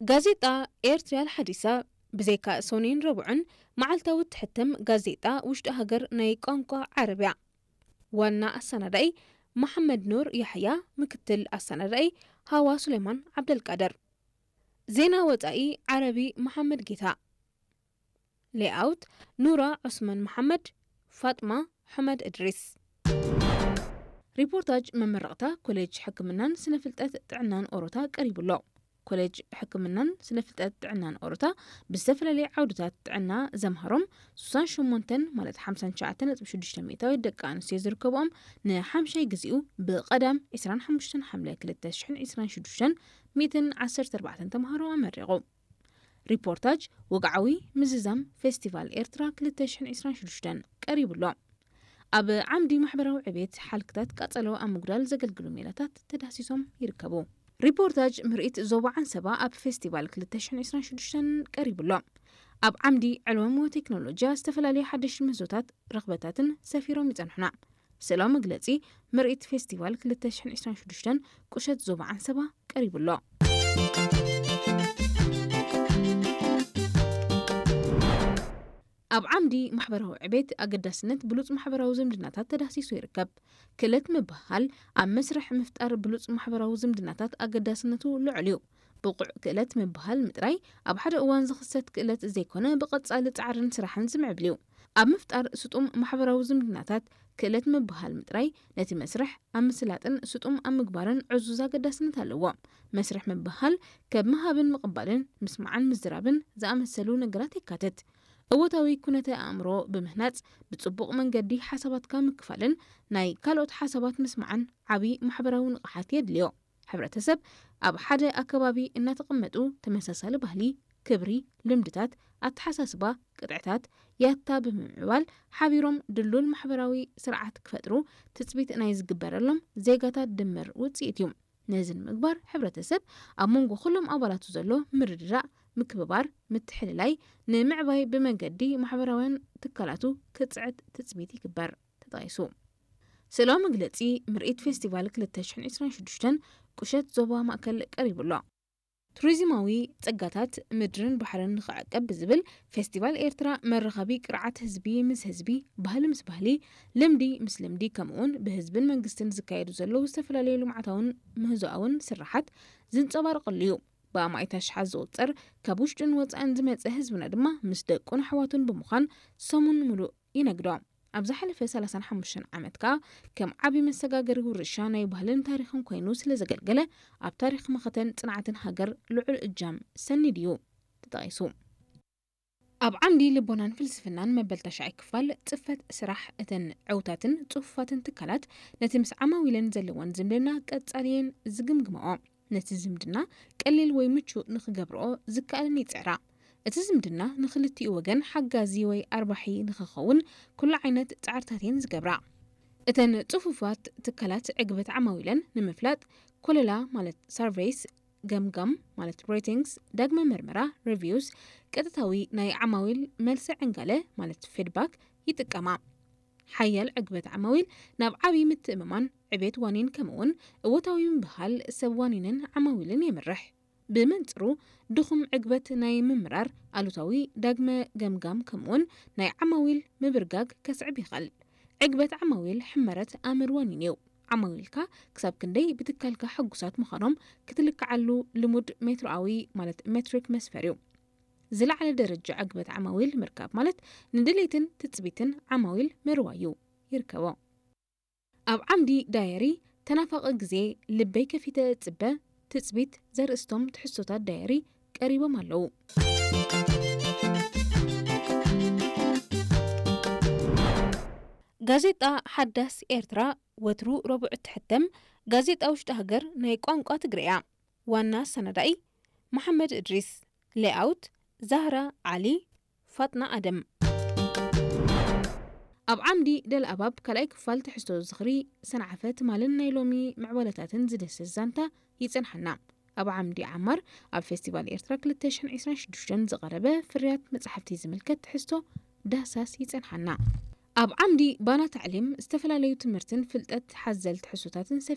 ጋዜጣ ኤርትርያ ሓዲሳ ብዘይካ ሰኑይን ረቡዕን መዓልታዊ እትሕተም ጋዜጣ ውሽጢ ሃገር ናይ ቋንቋ ዓረብያ። ዋና ኣሰናዳኢ መሓመድ ኑር ያሕያ፣ ምክትል ኣሰናዳኢ ሃዋ ሱሌማን ዓብደልቃድር። ዜና ወጻኢ ዓረቢ መሓመድ ጌታ። ሌኣውት ኑራ ዑስማን መሓመድ፣ ፋጥማ ሑመድ እድሪስ። ሪፖርታጅ መመረቕታ ኮሌጅ ሕክምናን ስነ ፍልጠት ጥዕናን ኦሮታ ቀሪቡ ኣሎ። ኮሌጅ ሕክምናን ስነ ፍልጠት ጥዕናን ኦሮታ ብዝተፈላለየ ዓውድታት ጥዕና ዘምሃሮም ሱሳን ሸሞንተን ማለት ሓምሳን ትሽዓተን ነጥቢ ሽዱሽተ ሚእታዊት ደቂ ኣንስትዮ ዝርከብኦም ንሓምሻይ ግዜኡ ብቐዳም ዕስራን ሓሙሽተን ሓምለ ክልተ ሽሕን ዕስራን ሽዱሽተን ሚእትን ዓሰርተ ኣርባዕተን ተምሃሮ ኣመሪቑ። ሪፖርታጅ ወግዓዊ ምዝዛም ፌስቲቫል ኤርትራ ክልተ ሽሕን ዕስራን ሽዱሽተን ቀሪቡ ኣሎ። ኣብ ዓምዲ ማሕበራዊ ዕቤት ሓልክታት ቃጸሎ ኣብ ምጉዳል ዘገልግሉ ሜላታት ተዳህሲሶም ይርከቡ። ሪፖርታጅ ምርኢት ዞባ ዓንሰባ ኣብ ፌስቲቫል ክልተ ሽሕን ዕስራን ሽዱሽተን ቀሪቡ ኣሎ። ኣብ ዓምዲ ዕልወም ወቴክኖሎጂያ ዝተፈላለዩ ሓደሽቲ ምህዞታት ረኽበታትን ሰፊሮም ይጸንሑና። ስእላዊ መግለጺ ምርኢት ፌስቲቫል ክልተ ሽሕን ዕስራን ሽዱሽተን ቁሸት ዞባ ዓንሰባ ቀሪቡ ኣሎ። ኣብ ዓምዲ ማሕበራዊ ዕቤት ኣገዳስነት ብሉጽ ማሕበራዊ ዝምድናታት ተዳህሲሱ ይርከብ። ክእለት ምብህሃል ኣብ መስርሕ ምፍጣር ብሉጽ ማሕበራዊ ዝምድናታት ኣገዳስነቱ ልዑል እዩ። ብቑዕ ክእለት ምብህሃል ምጥራይ ኣብ ሓደ እዋን ዝኽሰት ክእለት ዘይኮነ፣ ብቐጻሊ ጻዕርን ስራሕን ዝምዕብል እዩ። ኣብ ምፍጣር ስጡም ማሕበራዊ ዝምድናታት ክእለት ምብህሃል ምጥራይ ነቲ መስርሕ ኣብ ምስላጥን ስጡም ኣብ ምግባርን ዕዙዝ ኣገዳስነት ኣለዎ። መስርሕ ምብህሃል ከብ ምሃብን ምቕባልን ምስማዕን ምዝራብን ዝኣመሰሉ ነገራት የካትት። እወታዊ ኩነተ ኣእምሮ ብምህናጽ ብጽቡቕ መንገዲ ሓሳባትካ ምክፋልን ናይ ካልኦት ሓሳባት ምስማዕን ዓቢ ማሕበራዊ ንቕሓት የድልዮ። ሕብረተሰብ ኣብ ሓደ ኣከባቢ እናተቐመጡ ተመሳሳሊ ባህሊ፣ ክብሪ፣ ልምድታት፣ ኣተሓሳስባ፣ ቅጥዕታት፣ ያታ ብምምዕባል ሓቢሮም ድሉል ማሕበራዊ ስርዓት ክፈጥሩ ትጽቢት ናይ ዝግበረሎም ዜጋታት ድምር ውጽኢት እዩ። ነዚ ንምግባር ሕብረተሰብ ኣብ መንጎ ኩሎም ኣባላቱ ዘሎ ምርድዳእ፣ ምክብባር፣ ምትሕልላይ ንምዕባይ ብመንገዲ ማሕበራውያን ትካላቱ ክጽዕት ትጽቢት ይግበር ተጠቒሱ። ስእላዊ መግለጺ ምርኢት ፌስቲቫል ክልተ ሽሕን ዕስራን ሽዱሽተን ቁሸት ዞባ ማእከል ቀሪቡ ኣሎ። ቱሪዝማዊ ጸጋታት ምድርን ባሕርን ንኽዕቀብ ብዝብል ፌስቲቫል ኤርትራ መራኸቢ ቅርዓት ህዝቢ ምስ ህዝቢ፣ ባህሊ ምስ ባህሊ፣ ልምዲ ምስ ልምዲ ከምኡውን ብህዝብን መንግስትን ዝካየዱ ዘለዉ ዝተፈላለዩ ልምዓታውን ምህዞኣውን ስራሓት ዝንጸባረቐሉ እዩ። ብኣማኢት ኣሽሓት ዝቑጸር ካብ ውሽጥን ወጻእን ዝመጸ ህዝብና ድማ ምስ ደቁን ኣሕዋቱን ብምዃን ሰሙን ምሉእ ይነግዶ። ኣብ ዝሓለፈ ሰላሳን ሓሙሽተን ዓመት ከኣ ከም ዓቢ መሰጋገሪ ውርሻ ናይ ባህልን ታሪኽን ኮይኑ ስለ ዘገልገለ፣ ኣብ ታሪኽ መኸተን ጽንዓትን ሃገር ልዑል እጃም ሰኒዱ እዩ ተጠቒሱ። ኣብ ዓምዲ ልቦናን ፍልስፍናን መበል ተሽዓይ ክፋል ጽፈት ስራሕ እተን ዕውታትን ጽፉፋትን ትካላት ነቲ ምስ ዓማዊለን ዘለወን ዝምድና ቀጻሊ እየን ዝግምግማኦ። ነቲ ዝምድና ቀሊል ወይ ምቹእ ንኽገብርኦ ዝከኣለን ይጽዕራ። እቲ ዝምድና ንኽልቲኡ ወገን ሓጋዚ ወይ ኣርባሒ ንኽኸውን ኩሉ ዓይነት ጻዕርታት እየን ዝገብራ። እተን ጽፉፋት ትካላት ዕግበት ዓማዊለን ንምፍላጥ ኮለላ ማለት ሳርቬይስ፣ ገምጋም ማለት ሬቲንግስ፣ ዳግመ መርመራ ሪቪውስ፣ ቀጥታዊ ናይ ዓማዊል መልሲ ዕንጋለ ማለት ፊድባክ ይጥቀማ። ሓያል ዕግበት ዓማዊል ናብ ዓቢ ምትእምማን ዕቤት ዋኒን ከምኡውን እወታዊ ምብሃል ሰብ ዋኒንን ዓማዊልን የምርሕ። ብመንጽሩ ድኹም ዕግበት ናይ ምምራር ኣሉታዊ ዳግመ ገምጋም ከምኡውን ናይ ዓማዊል ምብርጋግ ከስዕብ ይኽእል። ዕግበት ዓማዊል ሕመረት ኣምር ዋኒን እዩ። ዓማዊልካ ክሳብ ክንደይ ብትካልካ ሕጉሳት ምዃኖም ክትልክዓሉ ልሙድ ሜትሮኣዊ ማለት ሜትሪክ መስፈር እዩ። ዝለዓለ ደረጃ ዕግበት ዓማዊል ምርካብ ማለት ንድሌትን ትጽቢትን ዓማዊል ምርዋይ እዩ። ይርከቦ። ኣብ ዓምዲ ዳየሪ ተናፋቒ ግዜ ልበይ ከፊተ እጽበ ትጽቢት ዘርእስቶም ትሕዝቶታት ዳየሪ ቀሪቦም ኣለዉ። ጋዜጣ ሓዳስ ኤርትራ ወትሩ ረቡዕ እትሕተም ጋዜጣ ውሽጢ ሃገር ናይ ቋንቋ ትግርኛ። ዋና ኣሰናዳኢ መሓመድ እድሪስ። ሌኣውት ዛህራ ዓሊ፣ ፋጥና ኣደም። ኣብ ዓምዲ ደልኣባብ ካልኣይ ክፋል ትሕዝቶ ዝኽሪ ሰንዓፈ ትማልን ናይ ሎሚ ምዕባለታትን ዝድህስስ ዛንታ ይጸንሓና። ኣብ ዓምዲ ዓማር ኣብ ፌስቲቫል ኤርትራ ክልተ ሽሕን ዕስራን ሽዱሽተን ዝቐረበ ፍርያት መጻሕፍቲ ዝምልከት ትሕዝቶ ዳህሳስ ይጸንሓና። ኣብ ዓምዲ ባና ታዕሊም ዝተፈላለዩ ትምህርትን ፍልጠት ሓዘል ትሕዝቶታትን